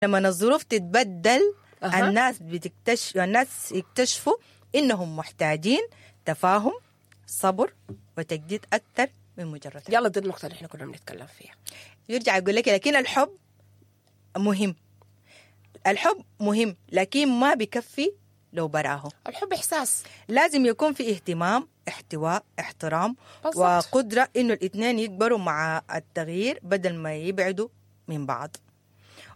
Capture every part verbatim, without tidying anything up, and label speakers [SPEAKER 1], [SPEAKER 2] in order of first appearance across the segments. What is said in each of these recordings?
[SPEAKER 1] لما الظروف تتبدل
[SPEAKER 2] أها.
[SPEAKER 1] الناس بتكتشف، الناس يكتشفوا انهم محتاجين تفاهم، صبر، وتجديد اكثر من مجرد حب.
[SPEAKER 2] يلا دي النقطة اللي احنا كنا بنتكلم فيها.
[SPEAKER 1] يرجع يقول لك لكن الحب مهم، الحب مهم لكن ما بكفي لو براه.
[SPEAKER 2] الحب احساس.
[SPEAKER 1] لازم يكون في اهتمام، احتواء، احترام،
[SPEAKER 2] بالضبط.
[SPEAKER 1] وقدرة انه الاثنين يكبروا مع التغيير بدل ما يبعدوا من بعض.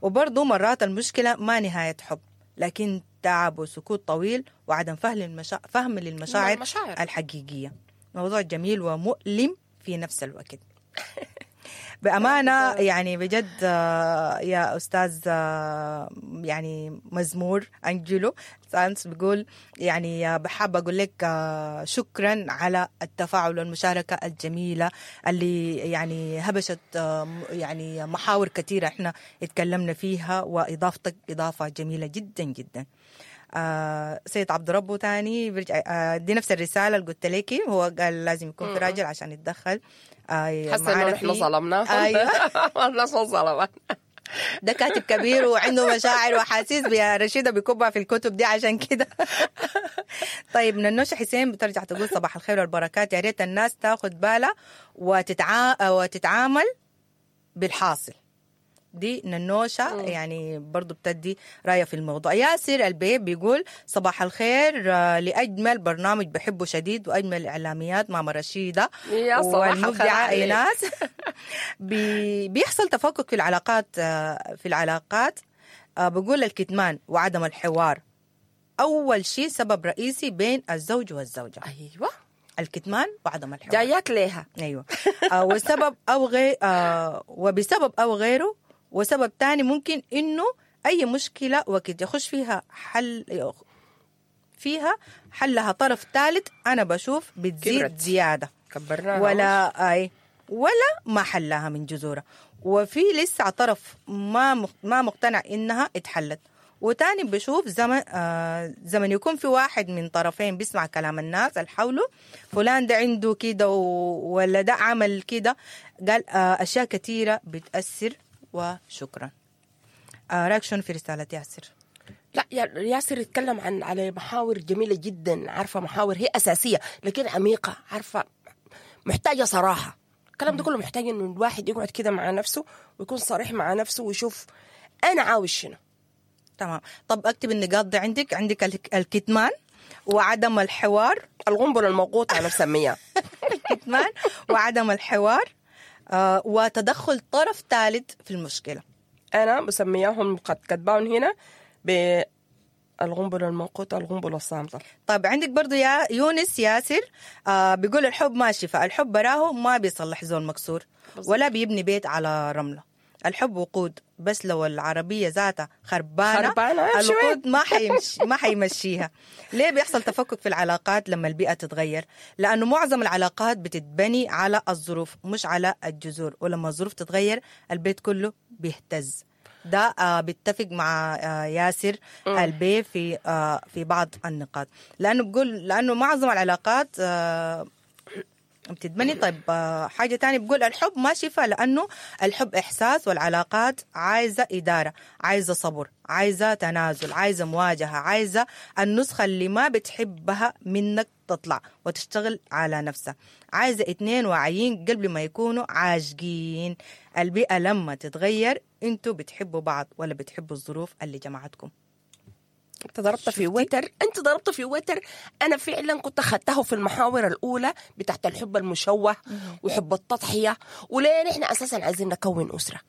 [SPEAKER 1] وبرضه مرات المشكلة ما نهاية حب، لكن تعب وسكوت طويل وعدم فهم للمشا... فهم للمشاعر
[SPEAKER 2] المشاعر.
[SPEAKER 1] الحقيقية. موضوع جميل ومؤلم في نفس الوقت. بأمانة يعني بجد آه، يا أستاذ آه، يعني مزمور أنجلو سانس بيقول يعني آه، بحب أقول لك آه، شكرا على التفاعل والمشاركة الجميلة اللي يعني هبشت آه، يعني محاور كثيرة احنا اتكلمنا فيها، وإضافتك إضافة جميلة جدا جدا. آه سيد عبد ربه تاني بيرجع آه دي نفس الرسالة اللي قلت لك، هو قال لازم يكون في راجل عشان يتدخل. آه
[SPEAKER 2] حاسه انه
[SPEAKER 1] معانا
[SPEAKER 2] نحن
[SPEAKER 1] في-
[SPEAKER 2] ظلمناهم.
[SPEAKER 1] ايوه
[SPEAKER 2] الناس ما ظلمت.
[SPEAKER 1] ده كاتب كبير وعنده مشاعر وحاسيس يا رشيده بيكبها في الكتب دي عشان كده. طيب ننوشة حسين بترجع تقول صباح الخير والبركات، يا ريت الناس تاخد بالها وتتعا... وتتعامل بالحاصل. دي ننوشة يعني برضو بتدي رأيها في الموضوع. ياسر البيب بيقول صباح الخير آه، لأجمل برنامج بحبه شديد وأجمل إعلاميات ماما رشيدة
[SPEAKER 2] يا صباح الخير
[SPEAKER 1] والمبدعة
[SPEAKER 2] عليك.
[SPEAKER 1] إيناس. بي بيحصل تفكك في العلاقات، آه، في العلاقات آه، بقول الكتمان وعدم الحوار أول شيء سبب رئيسي بين الزوج والزوجة.
[SPEAKER 2] ايوه
[SPEAKER 1] الكتمان وعدم الحوار
[SPEAKER 2] جايات ليها.
[SPEAKER 1] ايوه آه وسبب او غير آه وبسبب او غيره. وسبب تاني ممكن انه اي مشكلة وقت يخش فيها حل فيها حلها طرف ثالث، انا بشوف بتزيد
[SPEAKER 2] كبرت.
[SPEAKER 1] زيادة
[SPEAKER 2] كبرناها
[SPEAKER 1] ولا اي ولا ما حلها من جذورها، وفي لسه طرف ما مق- ما مقتنع انها اتحلت. وتاني بشوف زمن آه زمن يكون في واحد من طرفين بيسمع كلام الناس اللي حوله، فلان ده عنده كده و- ولا ده عمل كده، قال آه اشياء كثيرة بتاثر. وشكرا. آه رايك شنو في رسالة ياسر؟
[SPEAKER 2] لا يا- ياسر يتكلم عن على محاور جميلة جدا، عارفه محاور هي اساسية لكن عميقة، عارفه محتاجه صراحة. الكلام ده كله محتاج انه الواحد يقعد كده مع نفسه ويكون صريح مع نفسه ويشوف انا عاوز شنو.
[SPEAKER 1] تمام. طب اكتب النقاط دي عندك، عندك الك- الكتمان وعدم الحوار.
[SPEAKER 2] القنبلة الموقوته انا بسميها.
[SPEAKER 1] الكتمان وعدم الحوار آه، وتدخل طرف ثالث في المشكلة.
[SPEAKER 2] انا بسميهم قد كتبان هنا بالقنبله الموقوته، القنبلة الصامته.
[SPEAKER 1] طيب عندك برضو يا يونس ياسر آه بيقول الحب ما شفاء، الحب براه ما بيصلح زول مكسور ولا بيبني بيت على رملة. الحب وقود، بس لو العربية ذاتها خربانة
[SPEAKER 2] خربانة، امشي وين؟
[SPEAKER 1] الوقود ما حيمشي ما حيمشيها. ليه بيحصل تفكك في العلاقات لما البيئة تتغير؟ لأنه معظم العلاقات بتتبني على الظروف مش على الجذور، ولما الظروف تتغير البيت كله بيهتز. ده آه بيتفق مع آه ياسر البي في آه في بعض النقاط، لأنه بقول لأنه معظم العلاقات آه بتتبني. طيب آه، حاجة تانية بقول الحب ما شفاء، لأنه الحب إحساس، والعلاقات عايزة إدارة، عايزة صبر، عايزة تنازل، عايزة مواجهة، عايزة النسخة اللي ما بتحبها منك تطلع وتشتغل على نفسها، عايزة اتنين واعيين قبل ما يكونوا عاشقين. البيئة لما تتغير انتوا بتحبوا بعض ولا بتحبوا الظروف اللي جمعتكم؟
[SPEAKER 2] انت ضربت في وتر، انت ضربت في وتر. انا فعلا كنت اخذته في المحاور الاولى بتاعت الحب المشوه وحب التضحية، وليه نحن اساسا عايزين نكون اسره.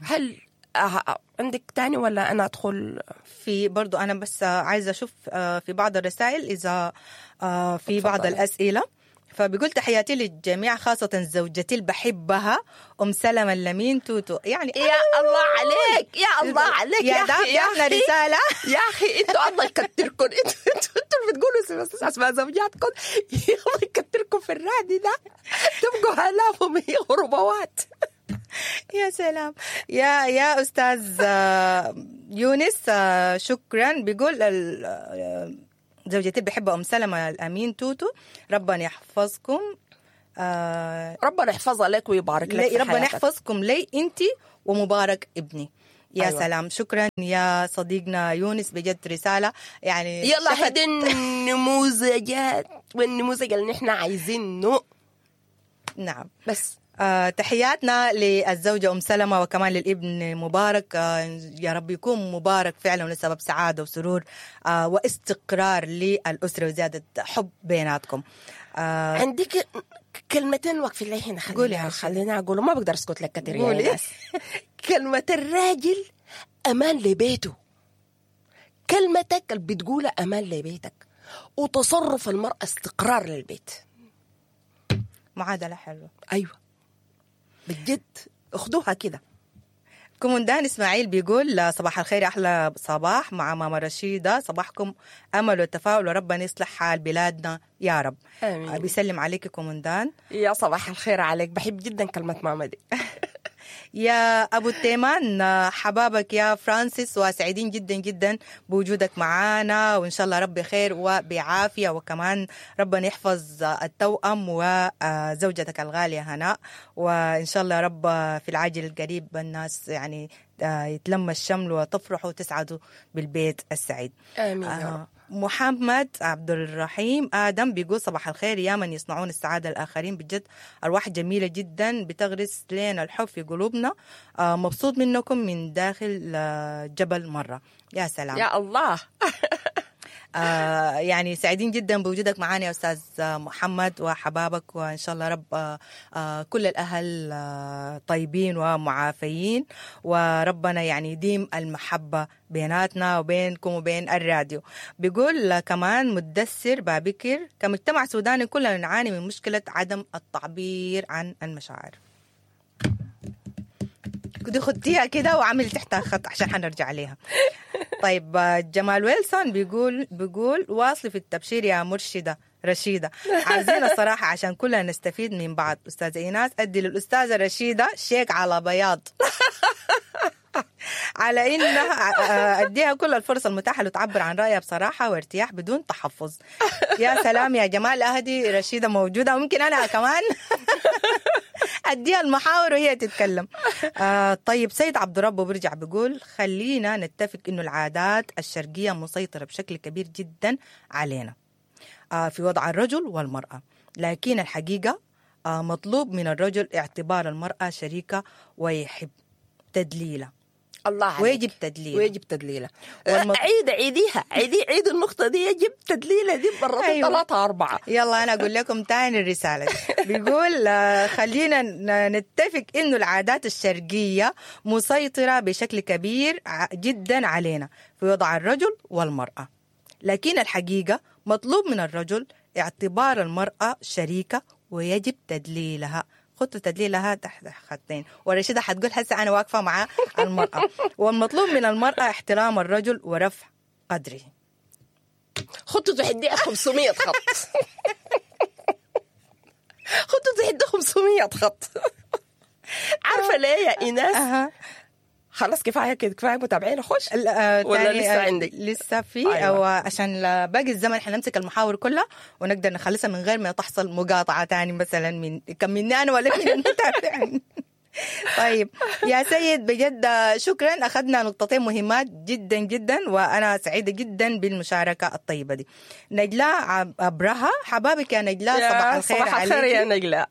[SPEAKER 2] هل آه عندك تاني ولا انا ادخل؟
[SPEAKER 1] في برضو أنا بس عايزة أشوف آه، في بعض الرسائل إذا آه، في بعض
[SPEAKER 2] اتفضلي.
[SPEAKER 1] الأسئلة. فبيقول تحياتي للجميع خاصة زوجتي اللي بحبها أم سلمة اللمين توتو. يعني
[SPEAKER 2] يا الله عليك، يا الله عليك،
[SPEAKER 1] يا
[SPEAKER 2] يا
[SPEAKER 1] ده
[SPEAKER 2] اخي، يا
[SPEAKER 1] جاتنا
[SPEAKER 2] اخي
[SPEAKER 1] رسالة.
[SPEAKER 2] يا اخي انتوا الله يكتركم، انتوا انتوا انتوا اللي بتقولوا بس اسماء زوجاتكم، يا الله يكتركم في الرادي ده، تبقوا الاف ومية وربوات.
[SPEAKER 1] يا سلام يا يا أستاذ آه، يونس آه، شكرا. بيقول ال- آه، زوجتي اللي بحبها أم سلمة الأمين توتو، ربنا يحفظكم. آه،
[SPEAKER 2] ربنا يحفظها لك ويبارك لك
[SPEAKER 1] لي
[SPEAKER 2] في
[SPEAKER 1] ربنا
[SPEAKER 2] حياتك.
[SPEAKER 1] يحفظكم لي انت ومبارك ابني. يا
[SPEAKER 2] أيوة.
[SPEAKER 1] سلام، شكرا يا صديقنا يونس، بجد رسالة يعني
[SPEAKER 2] يلا
[SPEAKER 1] شفت-
[SPEAKER 2] هدي النموذجات والنموذج اللي نحن عايزينه
[SPEAKER 1] نعم.
[SPEAKER 2] بس.
[SPEAKER 1] آه، تحياتنا للزوجة أم سلمة وكمان للابن مبارك، آه، يا رب يكون مبارك فعلا ولسبب سعادة وسرور آه، واستقرار للأسرة وزيادة حب بيناتكم. آه،
[SPEAKER 2] عندك كلمتين واقفين لي هنا،
[SPEAKER 1] قولي يا
[SPEAKER 2] خلينا
[SPEAKER 1] رشيد.
[SPEAKER 2] خلينا اقول، ما بقدر اسكت لك كثير يا
[SPEAKER 1] قولي.
[SPEAKER 2] ناس. كلمة الراجل امان لبيته، كلمتك اللي بتقولها امان لبيتك، وتصرف المرأة استقرار للبيت.
[SPEAKER 1] معادلة حلوة.
[SPEAKER 2] ايوه بجد اخدوها كده.
[SPEAKER 1] كومندان إسماعيل بيقول صباح الخير، أحلى صباح مع ماما رشيدة، صباحكم أمل وتفاؤل وربنا يصلح حال بلادنا يا رب.
[SPEAKER 2] آمين.
[SPEAKER 1] آه، بيسلم عليك كومندان.
[SPEAKER 2] يا صباح الخير عليك، بحب جدا كلمة ماما دي.
[SPEAKER 1] يا أبو التيمان، حبابك يا فرانسيس، وسعيدين جدا جدا بوجودك معانا، وإن شاء الله ربي خير وبعافية، وكمان ربنا يحفظ التوأم وزوجتك الغالية هناء، وإن شاء الله رب في العاجل القريب الناس يعني يتلم الشمل وتفرحوا وتسعدوا بالبيت السعيد.
[SPEAKER 2] آمين يا رب.
[SPEAKER 1] آه، محمد عبد الرحيم آدم بيقول صباح الخير يا من يصنعون السعادة الآخرين، بجد أرواح جميلة جدا بتغرس لنا الحب في قلوبنا، آه، مبسوط منكم من داخل آه، جبل مرة. يا سلام
[SPEAKER 2] يا الله.
[SPEAKER 1] آه يعني سعيدين جدا بوجودك معنا يا أستاذ محمد وحبابك، وإن شاء الله رب آه آه كل الأهل آه طيبين ومعافيين، وربنا يعني يديم المحبة بيناتنا وبينكم وبين الراديو. بيقول كمان مدثر بابكر، كمجتمع سوداني كلنا نعاني من مشكلة عدم التعبير عن المشاعر. دي خدتيها كده وعمل تحتها خط عشان حنرجع عليها. طيب جمال ويلسون بيقول بيقول واصلي في التبشير يا مرشدة رشيدة، عايزين الصراحة عشان كلنا نستفيد من بعض. أستاذة إيناس أدي للأستاذة رشيدة شيك على بياض على إنها أديها كل الفرص المتاحة لتعبر عن رأيها بصراحة وارتياح بدون تحفظ. يا سلام يا جمال، أهدي رشيدة موجودة، وممكن أنا كمان أديها المحاور وهي تتكلم. آه طيب سيد عبد الرب برجع بيقول خلينا نتفق إنه العادات الشرقية مسيطرة بشكل كبير جدا علينا آه في وضع الرجل والمرأة، لكن الحقيقة آه مطلوب من الرجل اعتبار المرأة شريكة ويحب تدليلة.
[SPEAKER 2] الله عليك.
[SPEAKER 1] ويجب تدليله.
[SPEAKER 2] ويجب تدليله.
[SPEAKER 1] والمط...
[SPEAKER 2] عيد عيديها، عيدي عيد النقطة دي، يجب تدليله دي مرتين.
[SPEAKER 1] أيوة.
[SPEAKER 2] ثلاثة أربعة.
[SPEAKER 1] يلا أنا أقول لكم تاني الرسالة دي. بيقول خلينا نتفق إنه العادات الشرقية مسيطرة بشكل كبير جدا علينا في وضع الرجل والمرأة، لكن الحقيقة مطلوب من الرجل اعتبار المرأة شريكة ويجب تدليلها. خطة تدليلها تحت خطين، ورشيدة حتقول هسه أنا واقفة مع المرأة. والمطلوب من المرأة احترام الرجل ورفع قدره.
[SPEAKER 2] خطة تحديها خمسمية خط. خطة تحديها خمسمية خط. عارفة ليه يا إيناس؟
[SPEAKER 1] أه.
[SPEAKER 2] خلاص كفاية كده، كفاية متابعين اخش ولا لسه عندك؟
[SPEAKER 1] لسه في. أيوة. أو عشان باقي الزمن حنمسك المحاور كلها ونقدر نخلصها من غير ما تحصل مقاطعه تاني مثلا من كم مني انا ولا من المتابعين. طيب يا سيد بجد شكرا، اخذنا نقطتين مهمات جدا جدا، وانا سعيدة جدا بالمشاركة الطيبة دي. نجلاء ابرهة، حبابك يا نجلاء، صباح الخير.
[SPEAKER 2] صباح الخير يا نجلاء.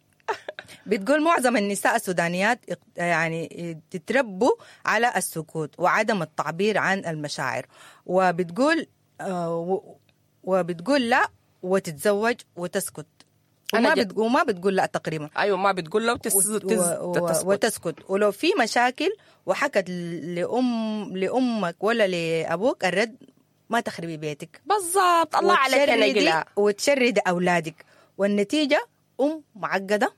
[SPEAKER 1] بتقول معظم النساء السودانيات يعني تتربوا على السكوت وعدم التعبير عن المشاعر، وبتقول وبتقول لا وتتزوج وتسكت، وما, بت وما بتقول لا تقريبا.
[SPEAKER 2] ايوه ما بتقول لا وتس... وتس...
[SPEAKER 1] وتسكت. وتسكت، ولو في مشاكل وحكت لأم لأمك ولا لأبوك الرد ما تخربي بيتك.
[SPEAKER 2] بالضبط. الله عليك يا نجلاء.
[SPEAKER 1] وتشردي أولادك، والنتيجة أم معقدة،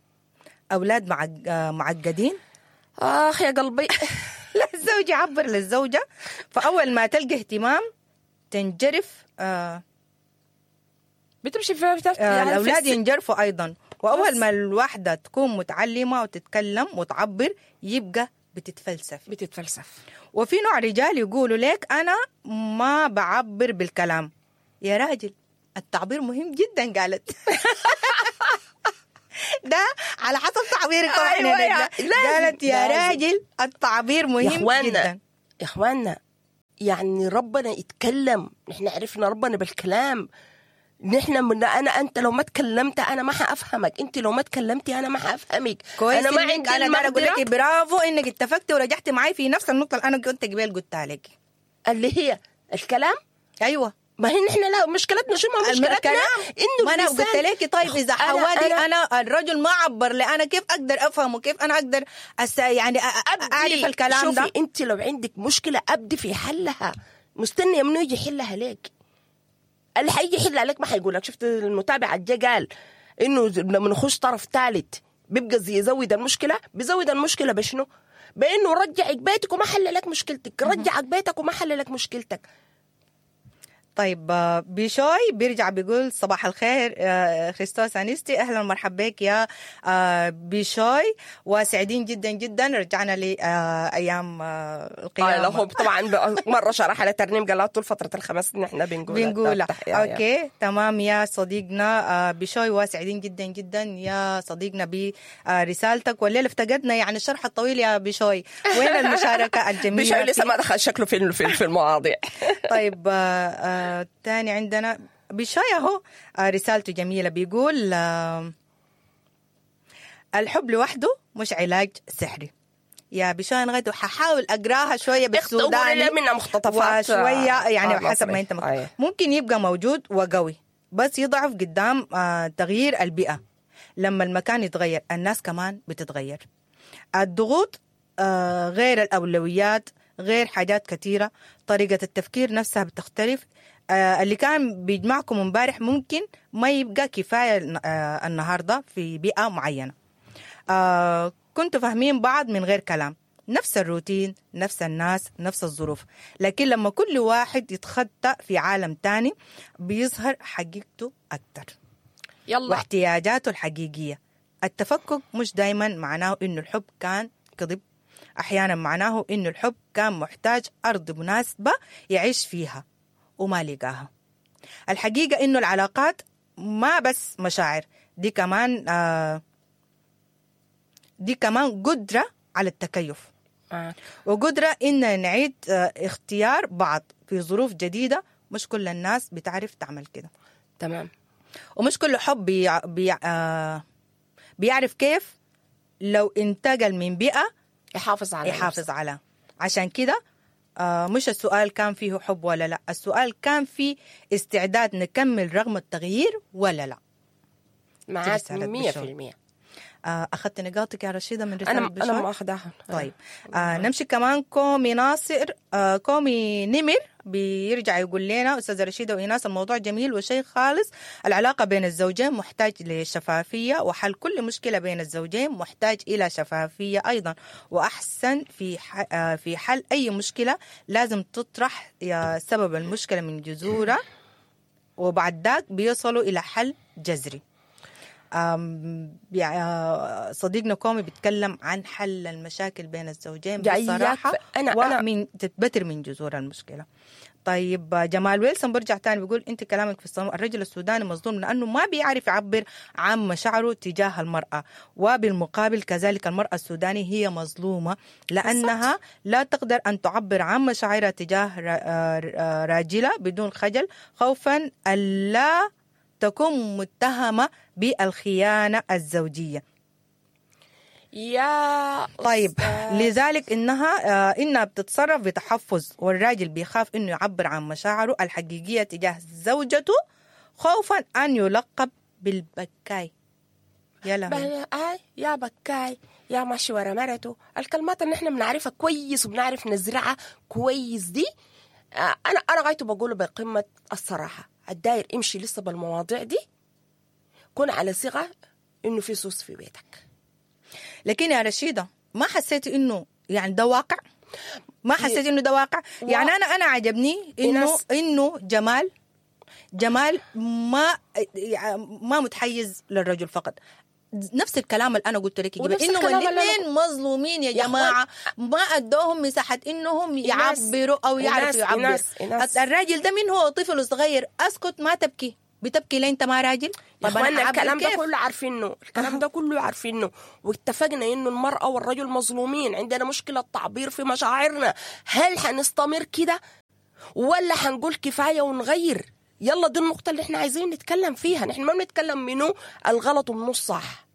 [SPEAKER 1] أولاد معقدين.
[SPEAKER 2] آخ يا قلبي.
[SPEAKER 1] لا الزوج يعبر للزوجة، فأول ما تلقى اهتمام تنجرف. آه
[SPEAKER 2] بتمشي في
[SPEAKER 1] آه الأولاد ينجرفوا أيضا، وأول ما الواحدة تكون متعلمة وتتكلم وتعبر يبقى بتتفلسف
[SPEAKER 2] بتتفلسف.
[SPEAKER 1] وفي نوع رجال يقولوا لك أنا ما بعبر بالكلام. يا راجل التعبير مهم جدا، قالت. ده على حسب تعبيرك طبعا.
[SPEAKER 2] أيوة يا
[SPEAKER 1] قالت يا راجل التعبير مهم
[SPEAKER 2] يا
[SPEAKER 1] جدا.
[SPEAKER 2] يا اخواننا يعني ربنا يتكلم، نحن عرفنا ربنا بالكلام. نحن من انا انت لو ما تكلمت انا ما حافهمك، انت لو ما تكلمتي انا ما حافهمك.
[SPEAKER 1] كويس
[SPEAKER 2] انا ما
[SPEAKER 1] إنك-
[SPEAKER 2] عندي
[SPEAKER 1] انا دايرة اقول
[SPEAKER 2] المقدرة
[SPEAKER 1] لك برافو انك اتفقتي ورجعتي معي في نفس النقطة اللي انا كنت قبل قلتها لك.
[SPEAKER 2] اللي هي الكلام.
[SPEAKER 1] ايوه
[SPEAKER 2] ما هي نحن لا مشكلتنا شو ما مشكلتنا
[SPEAKER 1] الكلام
[SPEAKER 2] انه
[SPEAKER 1] ما انا
[SPEAKER 2] اللسان-
[SPEAKER 1] قلت لك طيب اذا
[SPEAKER 2] أنا-
[SPEAKER 1] حوادي
[SPEAKER 2] أنا-
[SPEAKER 1] انا, الرجل ما عبر لي انا كيف اقدر افهمه، كيف انا اقدر أس يعني أ- أ- اعرف الكلام
[SPEAKER 2] شوفي
[SPEAKER 1] ده.
[SPEAKER 2] انت لو عندك مشكلة ابدي في حلها، مستنيه منو يجي يحلها لك؟ اللي حيجي يحلها لك ما حيقول لك. شفت المتابع الجا قال انه لما نخش طرف ثالث بيبقى زي يزود المشكلة، بيزود المشكلة بشنو؟ بانه رجعك بيتك وما حل لك مشكلتك، رجعك بيتك وما حل لك مشكلتك.
[SPEAKER 1] طيب آه، بيشوي بيرجع بيقول صباح الخير آه، خريستوس انستي، اهلا ومرحبا بك يا آه، بيشوي، وسعيدين جدا جدا رجعنا لايام
[SPEAKER 2] آه لا، هو
[SPEAKER 1] القيامة
[SPEAKER 2] طبعا مرة شرح على ترنيم قال طول فترة الخمس سنين احنا بنقولها.
[SPEAKER 1] بنقولها.
[SPEAKER 2] تحية.
[SPEAKER 1] okay تمام يا صديقنا آه، بشوي، وسعيدين جدا جدا يا صديقنا برسالتك، والليلة افتقدنا يعني الشرح الطويل يا بشوي، وين المشاركة الجميلة؟
[SPEAKER 2] بشوي لسه ما دخل شكله في في في المواضيع.
[SPEAKER 1] طيب آه، آه، تاني عندنا بشوي اهو آه، رسالته جميلة، بيقول آه، الحب لوحده مش علاج سحري. يا بشوي انا غايته ححاول اقراها شوية بالسوداني
[SPEAKER 2] اختاروا منها مقتطفات
[SPEAKER 1] وشوية يعني
[SPEAKER 2] آه،
[SPEAKER 1] حسب ما انت
[SPEAKER 2] مصري.
[SPEAKER 1] مكتوب.
[SPEAKER 2] أيوة.
[SPEAKER 1] ممكن يبقى موجود وقوي بس يضعف قدام آه، تغيير البيئة. لما المكان يتغير الناس كمان بتتغير. الضغوط آه، غير الأولويات، غير حاجات كثيرة، طريقة التفكير نفسها بتختلف. آه، اللي كان بيجمعكم امبارح ممكن ما يبقى كفاية آه، النهاردة في بيئة معينة. آه، كنتوا فاهمين بعض من غير كلام، نفس الروتين، نفس الناس، نفس الظروف، لكن لما كل واحد يتخطى في عالم تاني بيظهر حقيقته أكتر
[SPEAKER 2] يلا
[SPEAKER 1] واحتياجاته الحقيقية. التفكك مش دايما معناه إنه الحب كان كذب، أحيانا معناه إنه الحب كان محتاج أرض مناسبة يعيش فيها وما لقاها. الحقيقة إنه العلاقات ما بس مشاعر، دي كمان آه دي كمان قدرة على التكيف
[SPEAKER 2] معاك.
[SPEAKER 1] وقدرة إن نعيد آه، اختيار بعض في ظروف جديدة. مش كل الناس بتعرف تعمل كده،
[SPEAKER 2] تمام.
[SPEAKER 1] ومش كل حب بيع بيع آه بيعرف كيف لو انتقل من بيئة
[SPEAKER 2] يحافظ على
[SPEAKER 1] يحافظ على. عشان كده آه مش السؤال كان فيه حب ولا لا، السؤال كان فيه استعداد نكمل رغم التغيير ولا لا.
[SPEAKER 2] معاك
[SPEAKER 1] رسالة
[SPEAKER 2] مية
[SPEAKER 1] بشار.
[SPEAKER 2] في المية.
[SPEAKER 1] آه أخذت نقاطك يا رشيدة من رسالة
[SPEAKER 2] أنا
[SPEAKER 1] بشار؟
[SPEAKER 2] أنا ما أخداها.
[SPEAKER 1] طيب آه نمشي كمان كومي ناصر آه كومي نمر بيرجع يقول لنا أستاذة رشيدة وإيناس، الموضوع جميل وشيء خالص. العلاقة بين الزوجين محتاج لشفافية، وحل كل مشكلة بين الزوجين محتاج إلى شفافية أيضا، وأحسن في ح- آه في حل أي مشكلة لازم تطرح يا سبب المشكلة من جذورها، وبعد ذاك بيصلوا إلى حل جذري. أم، يعني آه، صديقنا كومي بيتكلم عن حل المشاكل بين الزوجين
[SPEAKER 2] جاياك
[SPEAKER 1] بصراحة
[SPEAKER 2] ف- أنا- أنا-
[SPEAKER 1] ومن تتبتر من جذور المشكلة. طيب آه، جمال ويلسون برجع تاني بيقول انت كلامك في الصميم، الرجل السوداني مظلوم لانه ما بيعرف يعبر عن مشاعره تجاه المرأة، وبالمقابل كذلك المرأة السودانية هي مظلومة لانها لا تقدر ان تعبر عن مشاعرها تجاه را- آه، راجلها بدون خجل، خوفا الا تكون متهمة بالخيانة الزوجية.
[SPEAKER 2] يا
[SPEAKER 1] طيب
[SPEAKER 2] أستاذ.
[SPEAKER 1] لذلك انها آه، انها بتتصرف بتحفظ، والراجل بيخاف انه يعبر عن مشاعره الحقيقية تجاه زوجته خوفا ان يلقب بالبكاي. يا لهوي.
[SPEAKER 2] بل- آي يا بكاي يا ماشي ورا مرته، الكلمات اللي احنا بنعرفها كويس وبنعرف نزرعها كويس دي. آه، انا انا غايته بقوله بقمة الصراحة، الداير امشي لسه بالمواضيع دي، كن على ثقة انه في سوس في بيتك.
[SPEAKER 1] لكن يا رشيده ما حسيتي انه يعني ده واقع؟ ما حسيت انه ده واقع؟ يعني انا انا عجبني انه
[SPEAKER 2] إناس-
[SPEAKER 1] انه جمال جمال ما ما متحيز للرجل فقط. نفس الكلام اللي انا قلت لك قبل،
[SPEAKER 2] ونفس
[SPEAKER 1] انه
[SPEAKER 2] الكلام اللي أنا
[SPEAKER 1] الاثنين مظلومين يا
[SPEAKER 2] يا
[SPEAKER 1] جماعة، ما ادوهم مساحة انهم
[SPEAKER 2] إناس-
[SPEAKER 1] يعبروا او يعرفوا
[SPEAKER 2] إناس-
[SPEAKER 1] يعبروا.
[SPEAKER 2] إناس- إناس.
[SPEAKER 1] الراجل ده من هو طفل صغير اسكت ما تبكي. بتبكي ليه انت ما راجل؟
[SPEAKER 2] طب انا الكلام ده كله عارفينه، الكلام ده كله عارفينه، واتفقنا انه المرأة والرجل مظلومين، عندنا مشكلة تعبير في مشاعرنا. هل حنستمر كده ولا حنقول كفاية ونغير؟ يلا دي النقطة اللي احنا عايزين نتكلم فيها. نحن ما بنتكلم منه الغلط ومنه الصح،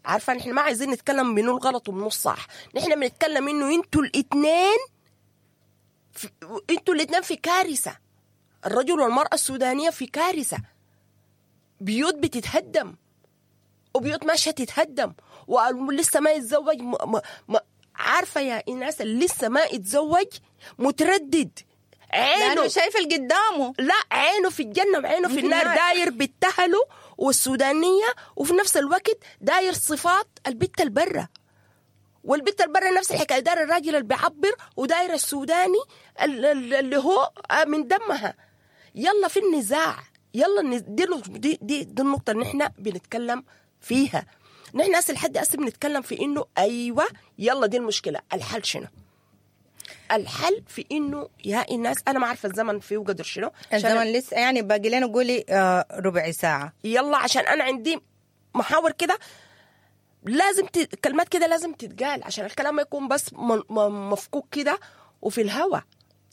[SPEAKER 2] عارفة؟ نحن ما عايزين نتكلم منه الغلط ومنه الصح، نحن بنتكلم انه انتوا الاتنين في... انتوا الاتنين في كارثة. الرجل والمرأة السودانية في كارثة، بيوت بتتهدم وبيوت ماشية تتهدم، ولسه ما يتزوج م... م... م... عارفة يا إناس اللي لسه ما يتزوج متردد،
[SPEAKER 1] عينه شايف اللي قدامه،
[SPEAKER 2] لا عينه في الجنة وعينه في النار، داير بتهله والسودانية، وفي نفس الوقت داير صفات البت البرة، والبت البرة نفس الحكاية، داير الراجل اللي بيعبر وداير السوداني اللي هو من دمها. يلا في النزاع، يلا دي دي دي, دي النقطة اللي نحن بنتكلم فيها. نحن هسه لحد هسه بنتكلم في إنه أيوة يلا دي المشكلة، الحل شنو؟ الحل في إنه يا الناس، أنا ما عارفة الزمن فيه وقدر شنو،
[SPEAKER 1] الزمن لسه يعني باقي لنا قولي آه ربع ساعة.
[SPEAKER 2] يلا عشان أنا عندي محاور كده لازم ت... كلمات كده لازم تتقال عشان الكلام ما يكون بس م... م... مفكوك كده وفي الهوا.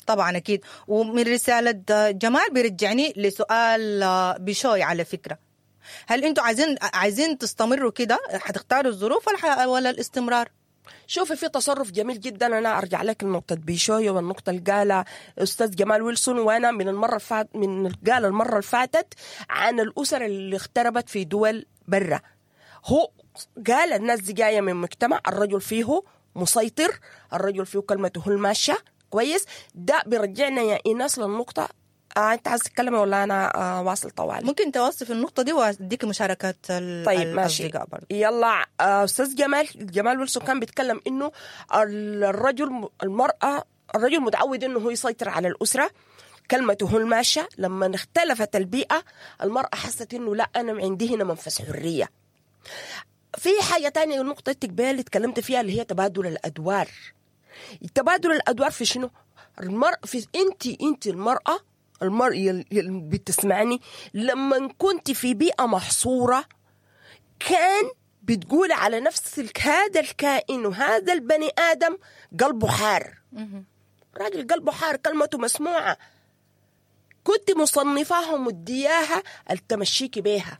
[SPEAKER 1] طبعا أكيد. ومن رسالة جمال بيرجعني لسؤال بشوي على فكرة، هل أنتوا عايزين عايزين تستمروا كده؟ حتختاروا الظروف ولا ولا الاستمرار؟
[SPEAKER 2] شوفي في تصرف جميل جدا، أنا أرجع لك النقطة بيشوي والنقطة اللي قالها أستاذ جمال ويلسون، وأنا من المرة الفات من قال المرة اللي فاتت عن الأسر اللي اغتربت في دول برا. هو قال الناس دي جاية من مجتمع الرجل فيه مسيطر، الرجل فيه كلمته الماشية كويس. ده بيرجعنا يا إيناس للنقطة. آه، أنت عايز تتكلمي ولا أنا آه واصل طوالي؟
[SPEAKER 1] ممكن توصف النقطة دي وأديك مشاركات
[SPEAKER 2] طيب ماشي. يلا آه، أستاذ جمال جمال ويلسون كان بيتكلم إنه الرجل المرأة الرجل متعود إنه هو يسيطر على الأسرة، كلمته الماشية. لما اختلفت البيئة المرأة حست إنه لا أنا عندي هنا منفذ حرية. في حاجة تانية نقطة التقبيل اللي تكلمت فيها اللي هي تبادل الأدوار. تبادل الأدوار في شنو؟ المرأة في أنت أنت المرأة المرأة اللي بتسمعني لما كنت في بيئة محصورة كان بتقول على نفسك هذا الكائن وهذا البني آدم قلبه حار، راجل قلبه حار، كلمته مسموعة، كنت مصنفاها ومدياها التمشيكي بيها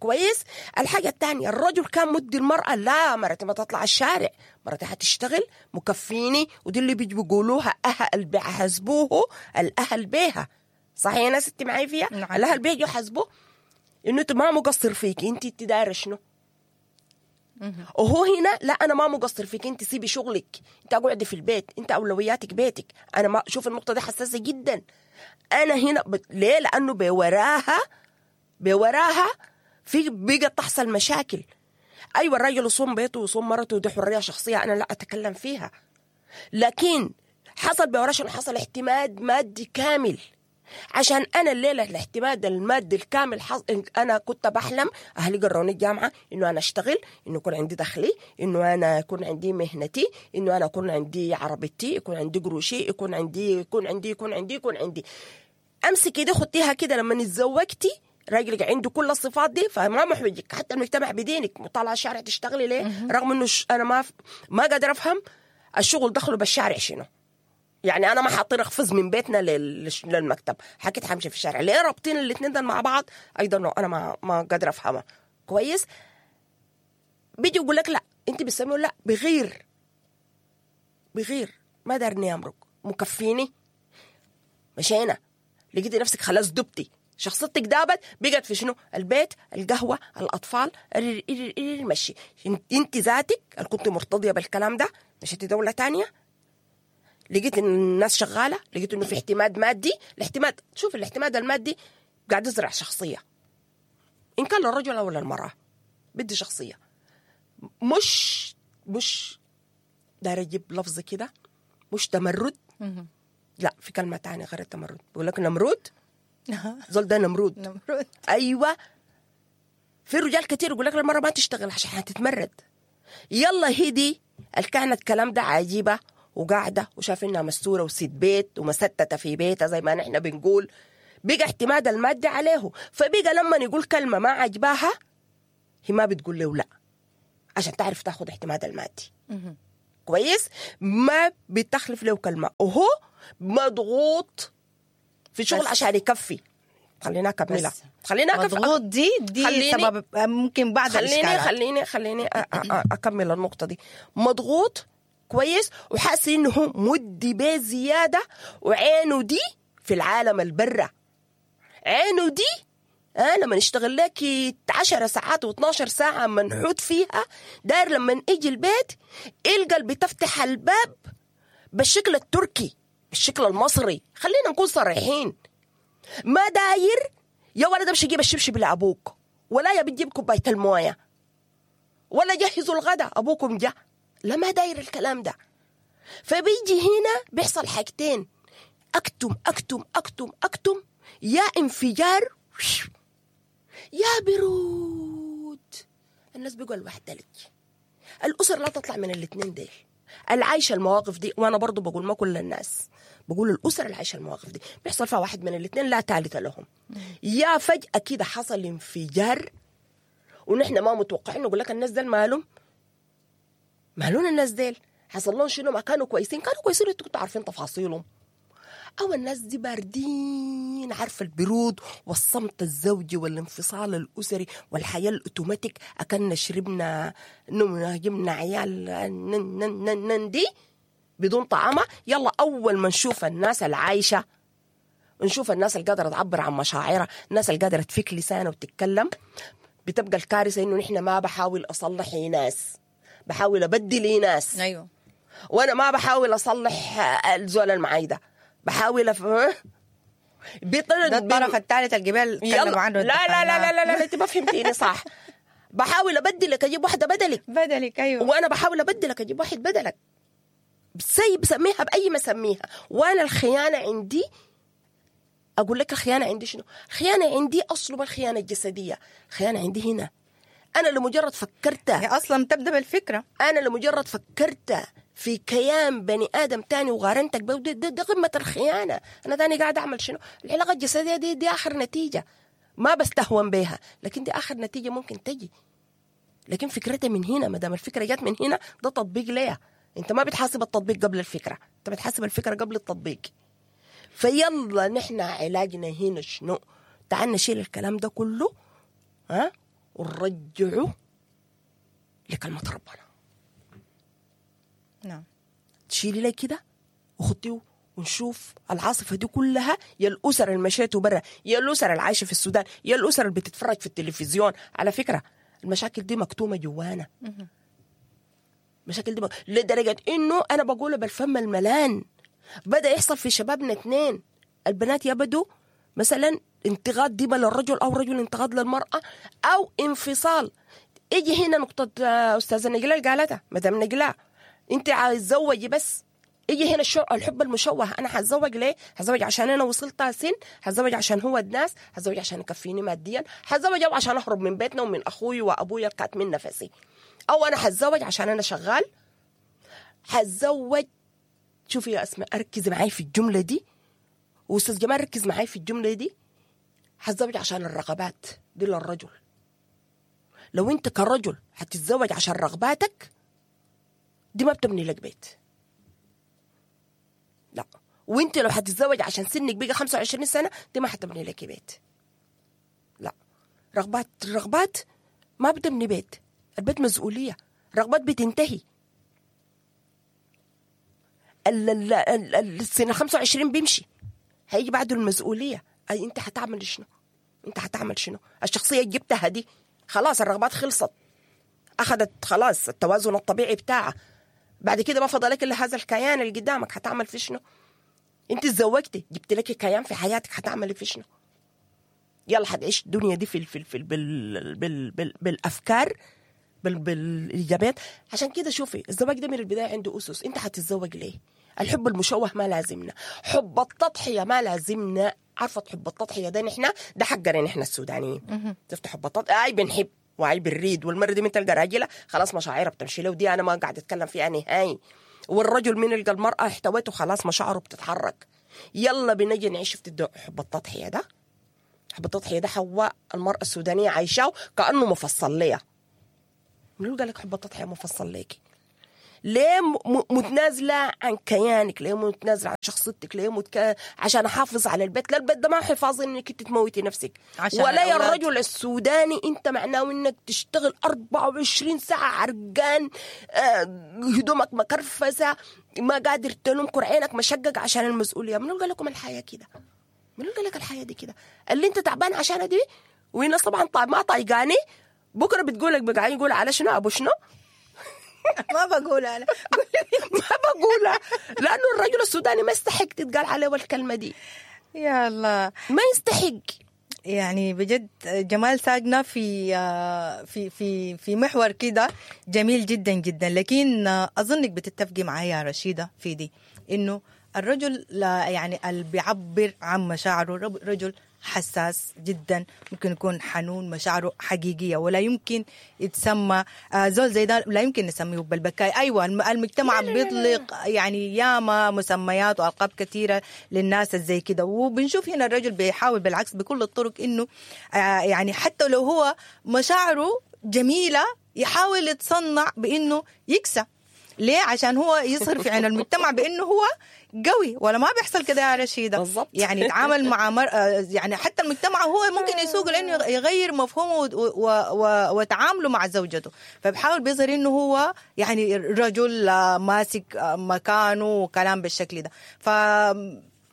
[SPEAKER 2] كويس. الحاجة الثانية الرجل كان مدي المرأة لا مرتي ما تطلع الشارع، مرتي حتشتغل مكفيني، ودي اللي بيجوا بيقولوها أهل بيحاسبوه الأهل بيها، صحيح يا ناس انت معي فيها؟ نعم. الأهل بيجوا يحاسبوه إنه أنت ما مقصر فيك، أنت أنت دايرة شنو؟ وهو هنا لا أنا ما مقصر فيك، أنت سيبي شغلك، أنت اقعدي في البيت، أنت أولوياتك بيتك. أنا ما شوف النقطة دي حساسة جدا. أنا هنا ب... ليه؟ لأنه بوراها بوراها في بقت تحصل مشاكل. أيوة الرجل يصوم بيته ويصوم مرته، ودي حرية شخصية أنا لا أتكلم فيها، لكن حصل بوراش حصل اعتماد مادي كامل. عشان أنا الليلة الاعتماد المادي الكامل حص... أنا كنت بحلم أهلي قروني الجامعة إنه أنا أشتغل، إنه يكون عندي دخلي، إنه أنا يكون عندي مهنتي، إنه أنا يكون عندي عربيتي، يكون عندي قروشي، يكون عندي يكون عندي يكون عندي يكون عندي أمسك إيدي خدتيها كده. لما اتزوجتي راجلك عنده كل الصفات دي فما محوجك، حتى المجتمع بدينك مطالعه الشارع تشتغلي ليه؟ رغم انه ش... انا ما ف... ما قادر افهم الشغل دخله بالشارع شنو. يعني انا ما حاطين اخفز من بيتنا لل... للمكتب، حكيت حمشي في الشارع ليه؟ رابطين الاثنين ده مع بعض ايضا انا ما ما قادر افهمها كويس. بيجي يقول لك لا انت بتسميه لا بغير بغير ما دارني امرك مكفيني. مشينا لقيتي نفسك خلاص دبتي شخصيتك دابت، بقت في شنو؟ البيت، القهوة، الأطفال، المشي. انت ذاتك اللي كنت مرتضية بالكلام ده مشيتي دولة تانية، لقيت ان الناس شغالة، لقيت انه في اعتماد مادي. الاعتماد، شوف الاعتماد المادي قاعد يزرع شخصية، إن كان للرجل أو للمرأة بدي شخصية. مش مش داير أجيب لفظ كده، مش تمرد، لا في كلمة تانية غير التمرد، بقول لك نمرود. زول ده نمرود.
[SPEAKER 1] نمرود
[SPEAKER 2] ايوه. في رجال كتير يقول لك المرة ما تشتغل عشان هتتمرد. يلا هدي الكانت كلام ده عجيبة وقاعدة وشاف انها مستورة وست بيت ومستته في بيتها زي ما نحن بنقول، بقى اعتماد المادي عليه. فبقى لما يقول كلمة ما عجباها هي ما بتقول له لا، عشان تعرف تاخد اعتماد المادي. كويس، ما بتخلف له كلمة، وهو مضغوط في شغل عشان يكفي. خلينا اكملها، خلينا اكمل.
[SPEAKER 1] مضغوط دي دي سبب ممكن بعض
[SPEAKER 2] خليني
[SPEAKER 1] الاشكالات.
[SPEAKER 2] خليني خليني اكمل النقطة دي. مضغوط كويس، وحاسس انه هو مدي بيه زيادة، وعينه دي في العالم البرة، عينه دي أه لما نشتغل لك عشر ساعات واثناشر ساعة منحوت فيها، داير لما يجي البيت يلقى اللي بتفتح الباب بالشكل التركي بالشكل المصري. خلينا نكون صريحين، ما داير يا ولد امشي جيب الشبشب لابوك، ولا يا بتجيب كوباية المويه، ولا جهزوا الغداء ابوكم جا، لا ما داير الكلام ده. فبيجي هنا بيحصل حاجتين، اكتم اكتم اكتم اكتم، يا انفجار يا برود. الناس بيقول الواحد لك الأسر لا تطلع من الاثنين ديل العايشة المواقف دي. وأنا برضو بقول ما كل الناس، بقول الأسر العايشة المواقف دي بيحصل فيها واحد من الاثنين لا ثالث لهم. يا فجأة كده حصل انفجار ونحن ما متوقعين، نقول لك الناس ديل مالهم مالون، الناس ديل حصل لهم شنو؟ ما كانوا كويسين، كانوا كويسين انتوا كنتوا عارفين تفاصيلهم. أو الناس دي باردين، عارفة البرود والصمت الزوجي والانفصال الأسري والحياة الأوتوماتيك، أكلنا شربنا نمنا جبنا عيال نن نن نن نن دي بدون طعامة. يلا أول ما نشوف الناس العايشة، نشوف الناس اللي قادرة تعبر عن مشاعرها، الناس اللي قادرة تفك لسانها وتتكلم، بتبقى الكارثة إنه نحن ما بحاول أصلح ناس، بحاول أبدل ناس.
[SPEAKER 1] أيوه،
[SPEAKER 2] وأنا ما بحاول أصلح الزول المعايدة، بحاول أف...
[SPEAKER 1] بيطلع ده الطرف الثالث الجبال تكلموا عنه.
[SPEAKER 2] لا لا لا لا لا لا, لا انت ما فهمتيني صح. بحاول ابدلك اجيب واحدة بدلك
[SPEAKER 1] بدلك ايوه،
[SPEAKER 2] وانا بحاول ابدلك اجيب واحد بدلك، سي بسميها باي ما سميها. وانا الخيانة عندي، اقول لك الخيانة عندي شنو؟ الخيانة عندي اصله الخيانة الجسدية، الخيانة عندي هنا انا لمجرد فكرت،
[SPEAKER 1] هي اصلا تبدا بالفكرة،
[SPEAKER 2] انا لمجرد فكرت في كيان بني آدم تاني وغارنتك به، دي, دي, دي قمة الخيانة. أنا تاني قاعد أعمل شنو؟ العلاقة الجسدية دي دي آخر نتيجة، ما بستهون بيها، لكن دي آخر نتيجة ممكن تجي. لكن فكرتها من هنا، ما دام الفكرة جت من هنا ده تطبيق ليها. أنت ما بتحاسب التطبيق قبل الفكرة، أنت بتحاسب الفكرة قبل التطبيق. فيلا نحن علاجنا هنا شنو؟ تعال نشيل الكلام ده كله ها ونرجعه لكلمة ربنا.
[SPEAKER 1] نعم،
[SPEAKER 2] تشيلي لي كده وخطيه ونشوف العاصفة دي كلها، يا الأسر اللي مشيتوا برا، يا الأسر اللي عايشة في السودان، يا الأسر اللي بتتفرج في التلفزيون. على فكرة المشاكل دي مكتومة جوانا، المشاكل دي مك... لدرجة إنه أنا بقوله بالفم الملان، بدأ يحصل في شبابنا اثنين، البنات يبدوا مثلا انتقاد ديما للرجل، أو رجل انتقاد للمرأة، أو انفصال. يجي هنا نقطة أستاذة نجلاء قالتها، مدام نجلاء انت عايز تزوجي بس، يجي هنا الشو... الحب المشوه. انا حتزوج ليه؟ حتزوج عشان انا وصلت سن، حتزوج عشان هو الناس، حتزوج عشان يكفيني ماديا، حتزوج او عشان اهرب من بيتنا ومن اخوي وابويا كانت من نفسي، او انا حتزوج عشان انا شغال، حتزوج. شوفي يا اسماء ركزي معاي في الجملة دي، واستاذ جمال ركز معاي في الجملة دي. حتزوج عشان الرغبات دي للرجل. لو انت كرجل حتتزوج عشان رغباتك دي ما بتبني لك بيت، لا. وانت لو حتتزوج عشان سنك بقى خمسة وعشرين سنة دي ما حتبني لك بيت، لا. رغبات الرغبات ما بتبني بيت، البيت مسؤولية، رغبات بتنتهي. ال ال ال السنة خمسة وعشرين بيمشي، هيجي بعده المسؤولية. أي انت حتعمل شنو؟ انت حتعمل شنو؟ الشخصية جبتها دي خلاص الرغبات خلصت، أخذت خلاص التوازن الطبيعي بتاعها، بعد كده ما فضلك إلا هذا الكيان اللي قدامك، حتعمل في شنو؟ انت تزوجتي جبت لك كيان في حياتك، حتعملي في شنو؟ يلا حتعيش الدنيا دي في في في بال بال بال بالافكار بال بالايجابيات. عشان كده شوفي الزواج ده من البداية عنده اسس. انت حتتزوج ليه؟ الحب المشوه ما لازمنا، حب التضحية ما لازمنا. عارفه حب التضحية ده نحن ده حقنا نحن السودانيين. شفت حب التضحية؟ اي بنحب وعي بالريد، والمرة دي من تلقى راجله خلاص مشاعرها بتمشي له، ودي انا ما قاعد اتكلم فيها نهائي. والرجل من يلقى المراة احتوته خلاص مشاعره بتتحرك. يلا بنجي نعيش في حب التضحية ده. حب التضحية ده حواء المرأة السودانية عايشاه كأنه مفصل ليها. منو قال لك حب التضحية مفصل ليكي؟ ليه متنازلة عن كيانك؟ ليه متنازلة عن شخصيتك؟ ليه متك... عشان أحافظ على البيت؟ لا، البيت ده ما حفاظ إنك انت تموتي نفسك. عشان ولا يا الرجل السوداني انت معناه انك تشتغل أربعة وعشرين ساعة عرقان، آه، هدومك مكرفسة، ما قادر تنوم، كرعينك مشقق عشان المسؤولية. منو قال لكم الحياة كده؟ منو قال لك الحياة دي كده؟ اللي انت تعبان عشان دي، والناس طبعا ما طايقاني، بكرة بتقولك بقى يقول على شنو أبو شنو؟
[SPEAKER 1] ما بقول أنا
[SPEAKER 2] ما بقولها، لأنه الرجل السوداني ما يستحق تتقال عليه الكلمة دي.
[SPEAKER 1] يا الله،
[SPEAKER 2] ما يستحق.
[SPEAKER 1] يعني بجد جمال ساقنا في في في في محور كده جميل جدا جدا. لكن أظنك بتتفقي معايا يا رشيدة في دي، إنه الرجل لا يعني اللي بيعبر عن مشاعره رجل حساس جدا، ممكن يكون حنون، مشاعره حقيقية، ولا يمكن يتسمى زول زي ده لا يمكن نسميه بالبكاي. أيوة، المجتمع بيطلق يعني ياما مسميات وألقاب كثيرة للناس زي كده، وبنشوف هنا الرجل بيحاول بالعكس بكل الطرق إنه يعني حتى لو هو مشاعره جميلة يحاول يتصنع بإنه يكسى. ليه؟ عشان هو يظهر في عين المجتمع بانه هو قوي. ولا ما بيحصل كده يا رشيدة؟
[SPEAKER 2] بالضبط.
[SPEAKER 1] يعني يتعامل مع مر... يعني حتى المجتمع هو ممكن يسوق لانه يغير مفهومه و... و... و... وتعامله مع زوجته، فبحاول بيظهر انه هو يعني رجل ماسك مكانه وكلام بالشكل ده. ف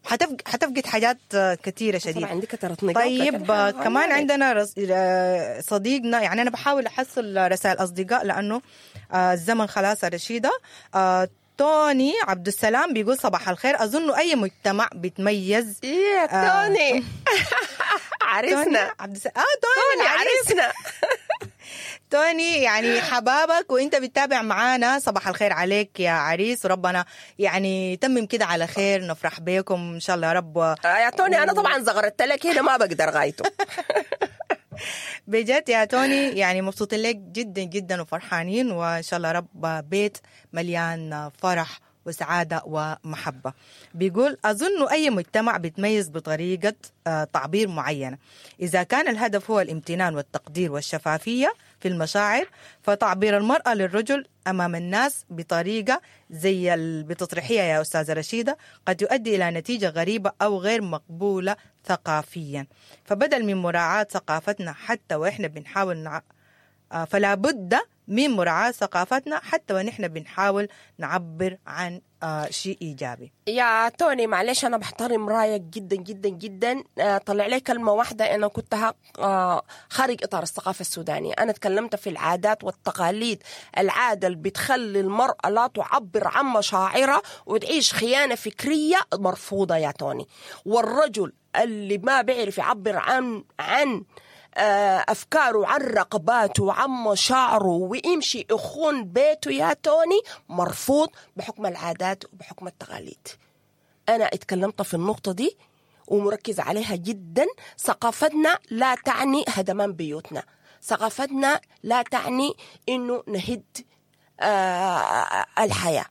[SPEAKER 1] حتفقد حتفقد حاجات كثيرة شديدة.
[SPEAKER 2] عندي كثرة نقاط.
[SPEAKER 1] طيب كمان عندنا رس... صديقنا، يعني أنا بحاول أحصل رسائل أصدقاء لأنه الزمن خلاص رشيدة. توني عبد السلام بيقول صباح الخير، أظن أي مجتمع بيتميز.
[SPEAKER 2] إيه توني عريسنا
[SPEAKER 1] عبد السلام. آه توني, توني
[SPEAKER 2] عريسنا.
[SPEAKER 1] توني يعني حبابك وانت بتتابع معانا، صباح الخير عليك يا عريس، وربنا يعني تمم كده على خير، نفرح بيكم ان شاء الله يا رب.
[SPEAKER 2] يا توني انا طبعا زغرت لك هنا ما بقدر غايته.
[SPEAKER 1] بجد يا توني يعني مبسوطين لك جدا جدا وفرحانين، وان شاء الله رب بيت مليان فرح وسعادة ومحبة. بيقول أظن أي مجتمع بيتميز بطريقة تعبير معينة، إذا كان الهدف هو الامتنان والتقدير والشفافية في المشاعر، فتعبير المرأة للرجل أمام الناس بطريقة زي بتطرحيها يا أستاذة رشيدة قد يؤدي إلى نتيجة غريبة أو غير مقبولة ثقافيا. فبدل من مراعاة ثقافتنا حتى وإحنا بنحاول نع... فلا بد من مراعاة ثقافتنا حتى ونحن بنحاول نعبر عن شيء إيجابي.
[SPEAKER 2] يا توني معلش أنا بحترم رأيك جدا جدا جدا. طلع لي كلمة واحدة أنا كنت خارج إطار الثقافة السودانية. أنا تكلمت في العادات والتقاليد، العادة اللي بتخلي المرأة لا تعبر عن مشاعرها وتعيش خيانة فكرية مرفوضة يا توني. والرجل اللي ما بيعرف يعبر عن عن أفكاره، عن رغباته، عن مشاعره، ويمشي يخون بيته يا توني، مرفوض بحكم العادات وبحكم التقاليد. أنا اتكلمت في النقطة دي ومركز عليها جدا. ثقافتنا لا تعني هدمان بيوتنا، ثقافتنا لا تعني إنه نهد آه الحياة.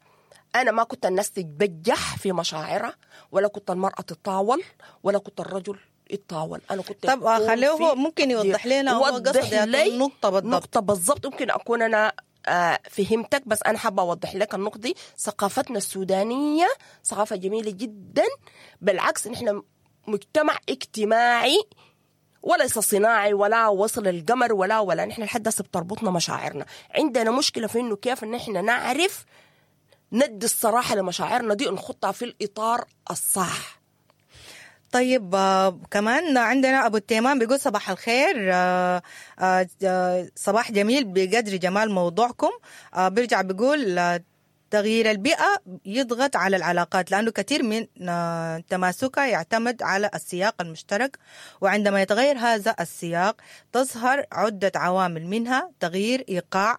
[SPEAKER 2] أنا ما كنت الناس تتبجح في مشاعرها، ولا كنت المرأة تتطاول، ولا كنت الرجل يتطاول. أنا كنت
[SPEAKER 1] طب خليه هو ممكن يوضح لنا هو قصد النقطة بالضبط.
[SPEAKER 2] نقطة بالضبط. ممكن أكون أنا آه فهمتك، بس أنا حابة أوضح لك النقطة دي. ثقافتنا السودانية ثقافة جميلة جدا، بالعكس نحن مجتمع اجتماعي وليس صناعي، ولا وصل القمر ولا ولا نحن لحد هسه بتربطنا مشاعرنا. عندنا مشكلة في إنه كيف نحن نعرف ندي الصراحة لمشاعرنا دي ونخطها في الإطار الصح.
[SPEAKER 1] طيب كمان عندنا أبو التيمان بيقول صباح الخير، صباح جميل بقدر جمال موضوعكم. بيرجع بيقول تغيير البيئة يضغط على العلاقات لأنه كثير من تماسكها يعتمد على السياق المشترك، وعندما يتغير هذا السياق تظهر عدة عوامل، منها تغيير إيقاع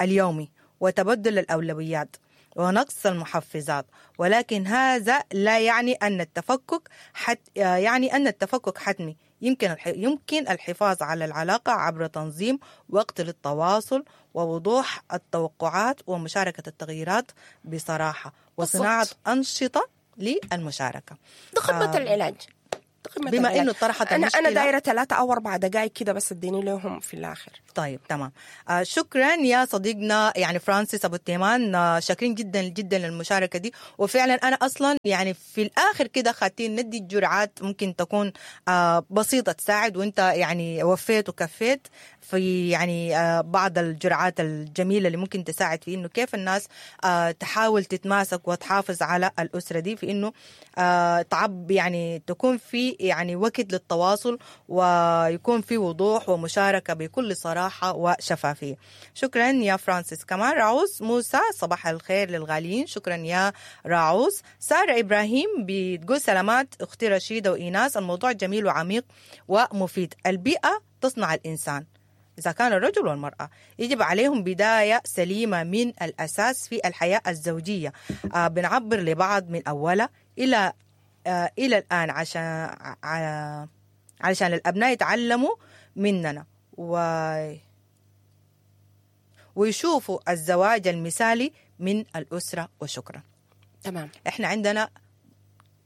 [SPEAKER 1] اليومي وتبدل الأولويات ونقص المحفزات، ولكن هذا لا يعني أن التفكك حت يعني أن التفكك حتمي. يمكن يمكن الحفاظ على العلاقة عبر تنظيم وقت للتواصل ووضوح التوقعات ومشاركة التغييرات بصراحة وصناعة أنشطة للمشاركة.
[SPEAKER 2] ده خطة آه العلاج. قمة
[SPEAKER 1] بما
[SPEAKER 2] الغلاء.
[SPEAKER 1] إنه طرحت
[SPEAKER 2] انا انا
[SPEAKER 1] المشكلة.
[SPEAKER 2] دايرة ثلاثة او اربع دقائق كده بس اديني لهم في الاخر.
[SPEAKER 1] طيب تمام. آه شكرا يا صديقنا يعني فرانسيس ابو التيمان، آه شاكرين جدا جدا للمشاركة دي. وفعلا انا اصلا يعني في الاخر كده خاتين ندي الجرعات ممكن تكون آه بسيطة تساعد، وانت يعني وفيت وكفيت في يعني آه بعض الجرعات الجميلة اللي ممكن تساعد في انه كيف الناس آه تحاول تتماسك وتحافظ على الاسرة دي، في انه آه تعب يعني تكون في يعني وقت للتواصل ويكون في وضوح ومشاركة بكل صراحة وشفافيه. شكرا يا فرانسيس. كمان راعوز موسى، صباح الخير للغاليين، شكرا يا راعوز. ساره ابراهيم بتقول سلامات اختي رشيده وايناس، الموضوع جميل وعميق ومفيد. البيئة تصنع الانسان، إذا كان الرجل والمرأة يجب عليهم بداية سليمة من الأساس في الحياة الزوجية. آه بنعبر لبعض من أولها إلى آه إلى الآن عشان ع- علشان الأبناء يتعلموا مننا و ويشوفوا الزواج المثالي من الأسرة. وشكرا.
[SPEAKER 2] تمام.
[SPEAKER 1] احنا عندنا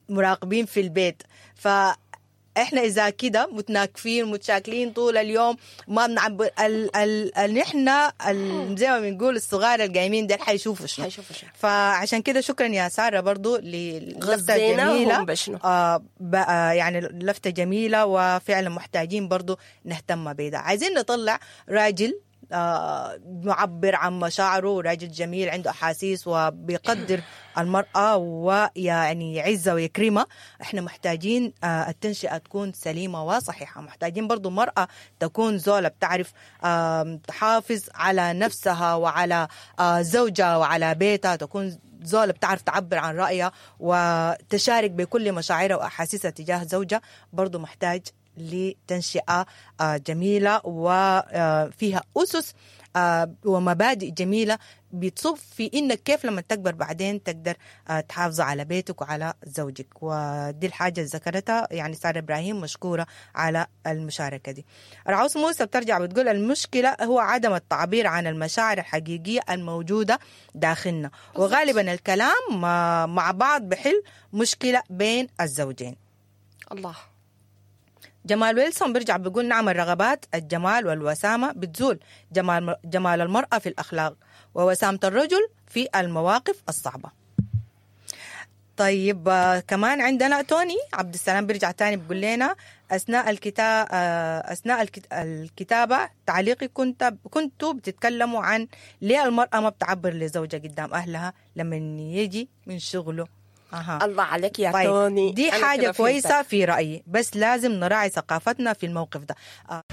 [SPEAKER 1] مراقبين في البيت، فاحنا اذا كده متناكفين متشاكلين طول اليوم ما بنعبر ال ال ال نحن ال زي ما بنقول الصغار القايمين ده حيشوفوا شنو.
[SPEAKER 2] حيشوفوا شنو.
[SPEAKER 1] فعشان كده شكرا يا ساره برضو للفته
[SPEAKER 2] غذيناهم
[SPEAKER 1] الجميلة.
[SPEAKER 2] بشنو.
[SPEAKER 1] آه بقى يعني لفته جميلة، وفعلا محتاجين برضو نهتم بده. عايزين نطلع راجل آه، معبر عن مشاعره، راجل جميل عنده احاسيس وبيقدر المراة ويعني يعزها ويكرمها. احنا محتاجين آه، التنشئه تكون سليمة وصحيحه، محتاجين برضو مراة تكون زوله بتعرف آم، تحافظ على نفسها وعلى آه، زوجها وعلى بيتها، تكون زولة بتعرف تعبر عن رأيها وتشارك بكل مشاعرها وأحاسيسها تجاه زوجها. برضو محتاج لتنشئة آه، جميلة وفيها أسس آه، ومبادئ جميلة بتصب في إنك كيف لما تكبر بعدين تقدر آه، تحافظ على بيتك وعلى زوجك. ودي الحاجة اللي ذكرتها يعني سارة إبراهيم، مشكورة على المشاركة دي. رعوس موسى بترجع بتقول المشكلة هو عدم التعبير عن المشاعر الحقيقية الموجودة داخلنا، وغالبا الكلام مع مع بعض بحل مشكلة بين الزوجين.
[SPEAKER 2] الله.
[SPEAKER 1] جمال ويلسون بيرجع بيقول نعم الرغبات الجمال والوسامة بتزول، جمال جمال المرأة في الأخلاق ووسامة الرجل في المواقف الصعبة. طيب آه، كمان عندنا توني عبد السلام بيرجع تاني بيقول لنا أثناء الكتاب أثناء الكت- الكتابة تعليقي كنت كنتوا بتتكلموا عن ليه المرأة ما بتعبر لزوجها قدام أهلها لما يجي من شغله. أها.
[SPEAKER 2] الله عليك يا
[SPEAKER 1] طيب
[SPEAKER 2] توني.
[SPEAKER 1] دي
[SPEAKER 2] أنا
[SPEAKER 1] حاجة
[SPEAKER 2] كده فهمتك.
[SPEAKER 1] كويسة في رأيي، بس لازم نراعي ثقافتنا في الموقف ده. آه.